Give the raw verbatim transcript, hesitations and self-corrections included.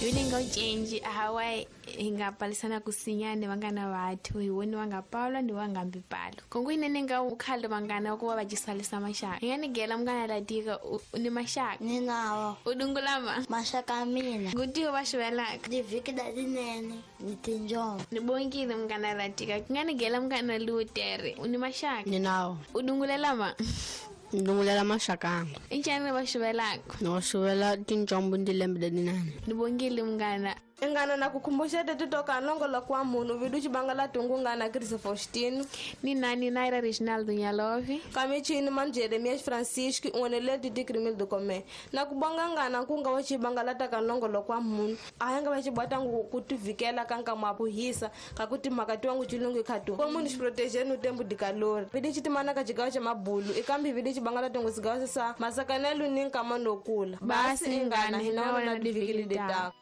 Hi nga ucenji ahawa hi nga palisana kusinyane vangana vathu hi woni va nga palwa ni va nga mbi palo kongo inene nga ukhale vangana ku va va cisalisa maxaka hi nga ni gela mungana latika ni maxaka ni nawo u dungulama maxaka ya mina ngutiwa va xivelaka divhiki da tinene ni tinjombo ni bongile mungana latika ki nga ni gela mungana lutere u ni maxaka ni nawo u dungulelama ndungulela maxakanga i ncani va xivelaka ni wa xivela tinjombo ni tilembe letinene ni bongile munghana ingana na kukhumbuxete titoka nongoloko wa munhu vidu xibangala tungu ngana Chris Faustino ni nani Naira Reginaldo Nyalovi kamichini manu Jeremias Francisco unwenele titi do Comé na kubonga ngana nkunga wa xibangala taka nongoloko wa munhu a ya nga va xibwatangu ku tivikela ka nkama wa kuhisa ka ku timhaka tiwangu chilungu khatu ko munhu xiproteger no tempo de calor vidi xitimana ka xigawo xa mabulu ikambi vidi xibangala tungu sigawo sa masakanelu ni nkama no kula Basi ingana, hina wena divikili ditako.